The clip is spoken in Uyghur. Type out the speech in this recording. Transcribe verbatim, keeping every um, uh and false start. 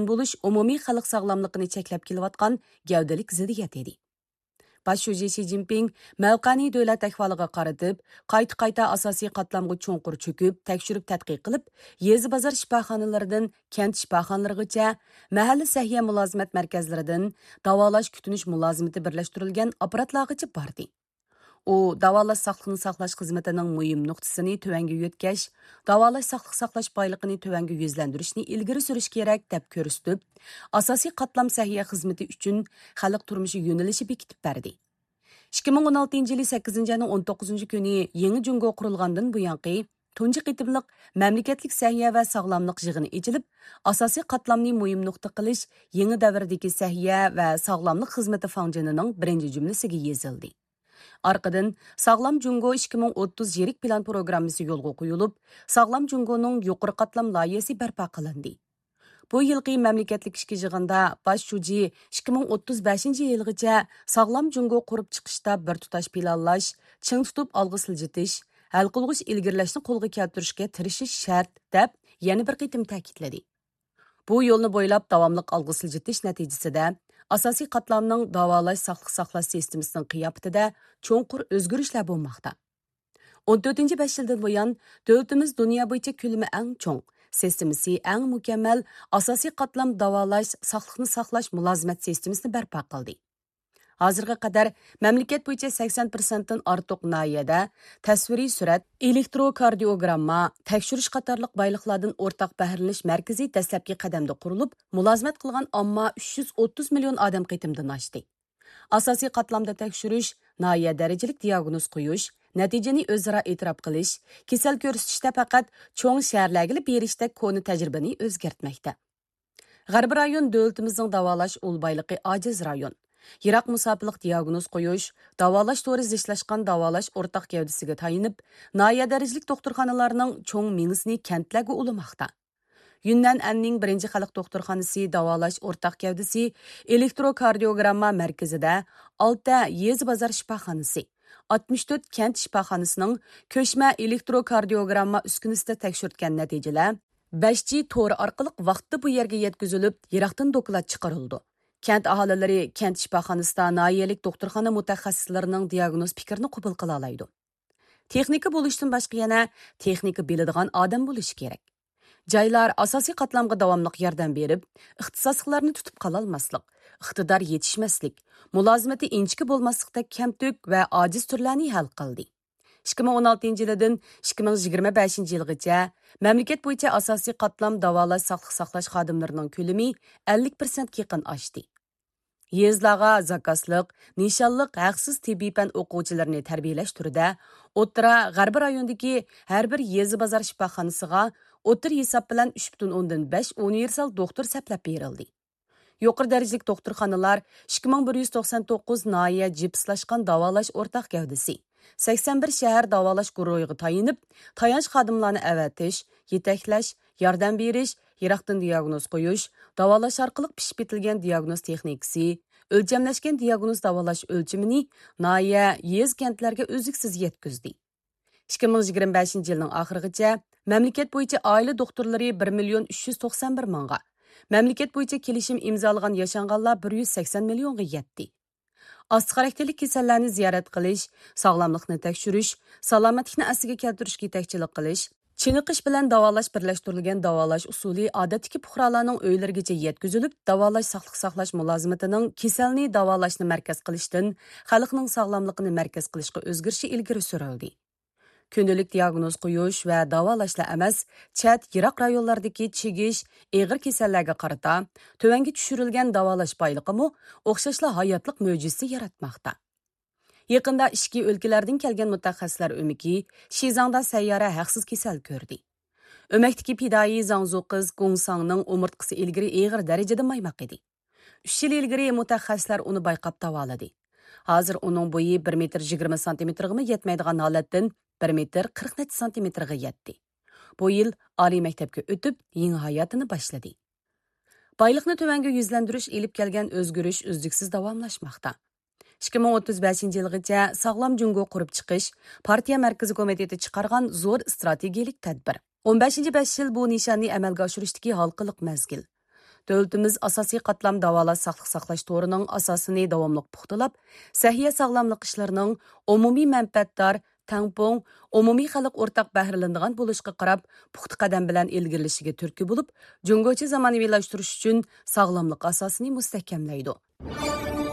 بولۇش ئومۇمىي خەلق ساغلاملىقىنى چەكلەپ كېلىۋاتقان گەۋدىلىك زىددىيەت ئىدى. باش شۇجى شى جىنپىڭ مەۋقەنى دۆلەت ئەھۋالىغا قارىتىپ، قايتا-قايتا ئاساسىي قاتلامغا چوڭقۇر چۆكۈپ، تەكشۈرۈپ تەتقىق قىلىپ، يېزا بازار شىپاخانىلىرىدىن كەنت شىپاخانىلىرىغىچە، مەھەللە سەھىيە مۇلازىمەت مەركەزلىرىدىن داۋالاش كۈتۈنۈش مۇلازىمىتى بىرلەشتۈرۈلگەن ئاپپاراتلارغىچە باردى. ئۇ داۋالاش ساقلىقنى ساقلاش خىزمىتىنىڭ مۇھىم نۇقتىسىنى تۆۋەنگە يۆتكەش، داۋالاش ساقلىق ساقلاش بايلىقىنى تۆۋەنگە يۈزلەندۈرۈشنى ئىلگىرى سۈرۈش كېرەك، دەپ كۆرسىتىپ، ئاساسىي قاتلام سەھىيە خىزمىتى ئۈچۈن خەلق تۇرمۇشى يۆنىلىشى بېكىتىپ بەردى. ئىككى مىڭ ئون ئالتىنچى يىلى سەككىزىنچى ئاينىڭ ئون توققۇزىنچى كۈنى يېڭى جۇڭگو قۇرۇلغاندىن بۇيانقى تۇنجى قېتىملىق مەملىكەتلىك سەھىيە ۋە ساغلاملىق يىغىنى ئېچىلىپ، ئاساسىي قاتلامنى مۇھىم نۇقتا قىلىش يېڭى دەۋردىكى سەھىيە ۋە ساغلاملىق خىزمىتى فاڭجېنىنىڭ بىرىنچى جۈملىسىگە يېزىلدى. ئارقىدىن، ساغلام جۇڭگو ئىككى مىڭ ئوتتۇز يىرىك پىلان پروگراممىسى يولغا قويۇلۇپ، ساغلام جۇڭگونىڭ يۇقىرى قاتلام لايىھەسى بەرپا قىلىندى. بۇ يىلقى مەملىكەتلىك ئىككى يىغىندا باش شۇجى ئىككى مىڭ ئوتتۇز بەشىنچى يىلغىچە ساغلام جۇڭگو قۇرۇپ چىقىشتا بىر تۇتاش پىلانلاش، چىڭ تۇتۇپ ئالغا سىلجىتىش، ھەل قىلغۇچ ئىلگىرىلەشنى قولغا كەلتۈرۈشكە تىرىشىش شەرت، دەپ يەنە بىر قېتىم تەكىتلىدى. بۇ يولنى بويلاپ داۋاملىق ئالغا سىلجىتىش نەتىجىسىدە، ئاساسىي قاتلامنىڭ داۋالاش، ساقلىق ساقلاش سىستېمىسىنىڭ قىياپىتىدە چوڭقۇر ئۆزگىرىشلەر بولماقتا. ئون تۆتىنچى بەش يىلدىن بۇيان، دۆلىتىمىز دۇنيا بويىچە كۆلىمى ئەڭ چوڭ، سىستېمىسى ئەڭ مۇكەممەل ئاساسىي قاتلام داۋالاش، ساقلىقنى ساقلاش مۇلازىمەت سىستېمىسىنى بەرپا قىلدى. ھازىرغا قەدەر مەملىكەت بويىچە سەكسەن پىرسەنتتىن ئارتۇق ناھىيەدە تەسۋىرىي سۈرەت، ئېلېكتروكاردىيوگرامما، تەكشۈرۈش قاتارلىق بايلىقلاردىن ئورتاق بەھرىلىنىش مەركىزى دەسلەپكى قەدەمدە قۇرۇلۇپ، مۇلازىمەت قىلغان ئامما ئۈچ يۈز ئوتتۇز مىليون ئادەم قېتىمدىن ئاشتى. ئاساسىي قاتلامدا تەكشۈرۈش، ناھىيە دەرىجىلىك دىياگنوز قويۇش، نەتىجىنى ئۆزئارا ئېتىراپ قىلىش، كېسەل كۆرسىتىشتە پەقەت چوڭ شەھەرلەرگىلا بېرىشتەك كونا تەجرىبىنى ئۆزگەرتمەكتە. غەربىي رايون دۆلىتىمىزنىڭ داۋالاش ئۇل بايلىقى ئاجىز رايون. يىراق مۇساپىلىق دىياگنوز قويۇش، داۋالاش تورى زىچلاشقان داۋالاش ئورتاق گەۋدىسىگە تايىنىپ، ناھىيە دەرىجىلىك دوختۇرخانىلارنىڭ چوڭ مېڭىسىنى كەنتلەرگە ئۇلىماقتا. يۈننەن ئەننىڭ بىرىنچى خەلق دوختۇرخانىسى داۋالاش ئورتاق گەۋدىسى ئېلېكتروكاردىيوگرامما مەركىزىدە ئالتە يېزا بازار شىپاخانىسى، ئاتمىش تۆت كەنت شىپاخانىسىنىڭ كۆچمە ئېلېكتروكاردىيوگرامما ئۈسكۈنىسىدە تەكشۈرتكەن نەتىجىلەر بەش جى تورى ئارقىلىق ۋاقتىدا بۇ يەرگە يەتكۈزۈلۈپ، يىراقتىن دوكلات چىقىرىلىدۇ. كەنت ئاھالىلىرى كەنت شىپاخانىسىدا ناھىيەلىك دوختۇرخانا مۇتەخەسسىسلىرىنىڭ دىياگنوز پىكرىنى قوبۇل قىلالايدۇ. تېخنىكا بولۇشتىن باشقا يەنە تېخنىكا بىلىدىغان ئادەم بولۇشى كېرەك. جايلار ئاساسىي قاتلامغا داۋاملىق ياردەم بېرىپ، ئىختىساسلىقلارنى تۇتۇپ قالالماسلىق، ئىقتىدار يېتىشمەسلىك، مۇلازىمىتى ئىنچىكە بولماسلىقتەك كەمتۈك ۋە ئاجىز تۈرلەرنى ھەل قىلدى. ئىككى مىڭ ئون ئالتىنچى يىلىدىن ئىككى مىڭ يىگىرمە بەشىنچى يىلغىچە مەملىكەت بويىچە ئاساسىي قاتلام داۋالاش، ساقلىق ساقلاش خادىملىرىنىڭ كۆلىمى ئەللىك پىرسەنتكە يېقىن ئاشتى. يېزىلارغا زاكازلىق، نىشانلىق ھەقسىز تېببىي پەن ئوقۇغۇچىلىرىنى تەربىيەلەش تۈرىدە ئوتتۇرا، غەربىي رايوندىكى ھەر بىر يېزا بازار شىپاخانىسىغا ئوتتۇرا ھېساب بىلەن ئۈچ پۈتۈن ئوندىن بەش ئۇنىۋېرسال دوختۇر سەپلەپ بېرىلدى. يۇقىرى دەرىجىلىك دوختۇرخانىلار ئىككى مىڭ بىر يۈز توقسان توققۇز ناھىيە جىپسلاشقان داۋالاش ئورتاق گەۋدىسى، سەكسەن بىر شەھەر داۋالاش گۇرۇھىغا تايىنىپ، تايانچ خادىملارنى ئەۋەتىش، يېتەكلەش، ياردەم بېرىش، يىراقتىن دىياگنوز قويۇش، داۋالاش ئارقىلىق پىشىپ يېتىلگەن دىياگنوز تېخنىكىسى، ئۆلچەملەشكەن دىياگنوز داۋالاش ئۆلچىمىنى ناھىيە، يېزا، كەنتلەرگە ئۈزلۈكسىز يەتكۈزدى. ئىككى مىڭ يىگىرمە بەشىنچى يىلنىڭ ئاخىرىغىچە مەملىكەت بويىچە ئائىلە دوختۇرلىرى بىر مىليون ئۈچ يۈز توقسان بىر مىڭغا، مەملىكەت بويىچە كېلىشىم ئىمزالىغان ياشانغانلار بىر يۈز سەكسەن مىليونغا يەتتى. ئاستا خاراكتېرلىك كېسەللەرنى زىيارەت قىلىش، ساغلاملىقنى تەكشۈرۈش، سالامەتلىكنى ئەسلىگە كەلتۈرۈشكە يېتەكچىلىك قىلىش، چېنىقىش بىلەن داۋالاش بىرلەشتۈرۈلگەن داۋالاش ئۇسۇلى ئادەتتىكى پۇقرالارنىڭ ئۆيلىرىگىچە يەتكۈزۈلۈپ، داۋالاش ساقلىق ساقلاش مۇلازىمىتىنىڭ كېسەلنى داۋالاشنى مەركەز قىلىشتىن خەلقنىڭ ساغلاملىقىنى مەركەز قىلىشقا ئۆزگىرىشى ئىلگىرى سۈرۈلدى. كۈندىلىك دىياگنوز قويۇش ۋە داۋالاشلا ئەمەس، چەت، يىراق رايونلاردىكى چىگىش، ئېغىر كېسەللەرگە قارىتا تۆۋەنگە چۈشۈرۈلگەن داۋالاش بايلىقىمۇ ئوخشاشلا ھاياتلىق مۆجىزىسى ياراتماقتا. يېقىندا ئىچكى ئۆلكىلەردىن كەلگەن مۇتەخەسسىسلەر ئۆمىكى شىزاڭدا سەييارە ھەقسىز كېسەل كۆردى. ئۆمەكتىكى پىدائىي زاڭزۇ قىز گۇڭساڭنىڭ ئومۇرتقىسى ئىلگىرى ئېغىر دەرىجىدە مايماق ئىدى. ئۈچ يىل ئىلگىرى مۇتەخەسسىسلەر ئۇنى بايقاپ داۋالىدى. ھازىر ئۇنىڭ بويى بىر مېتىر يىگىرمە سانتىمېتىرغىمۇ يەتمەيدىغان ھالەتتىن بىر مېتىر قىرىق نەچچە سانتىمېتىرغا يەتتى. بۇ يىل ئالىي مەكتەپكە ئۆتۈپ، يېڭى ھاياتىنى باشلىدى. بايلىقنى تۆۋەنگە يۈزلەندۈرۈش ئېلىپ كەلگەن ئۆزگىرىش ئۈزلۈكسىز داۋاملاشماقتا. ئىككى مىڭ ئوتتۇز بەشىنچى يىلغىچە ساغلام جۇڭگو قۇرۇپ چىقىش پارتىيە مەركىزىي كومىتېتى چىقارغان زور ئىستراتېگىيەلىك تەدبىر. ئون بەشىنچى بەش يىل بۇ نىشاننى ئەمەلگە ئاشۇرۇشتىكى ھالقىلىق مەزگىل. دۆلىتىمىز ئاساسىي قاتلام داۋالاش ساقلىق ساقلاش تورىنىڭ ئاساسىنى داۋاملىق پۇختىلاپ، سەھىيە ساغلاملىق ئىشلىرىنىڭ ئومۇمىي مەنپەئەتدار، تەڭپۇڭ، ئومۇمىي خەلق ئورتاق بەھرىلىنىدىغان بولۇشىغا قاراپ، پۇختا قەدەم بىلەن ئىلگىرىلىشىگە تۈرتكە بولۇپ، جۇڭگوچە زامانىۋىلاشتۇرۇش ئۈچۈن ساغلاملىق ئاساسىنى مۇستەھكەملەيدۇ.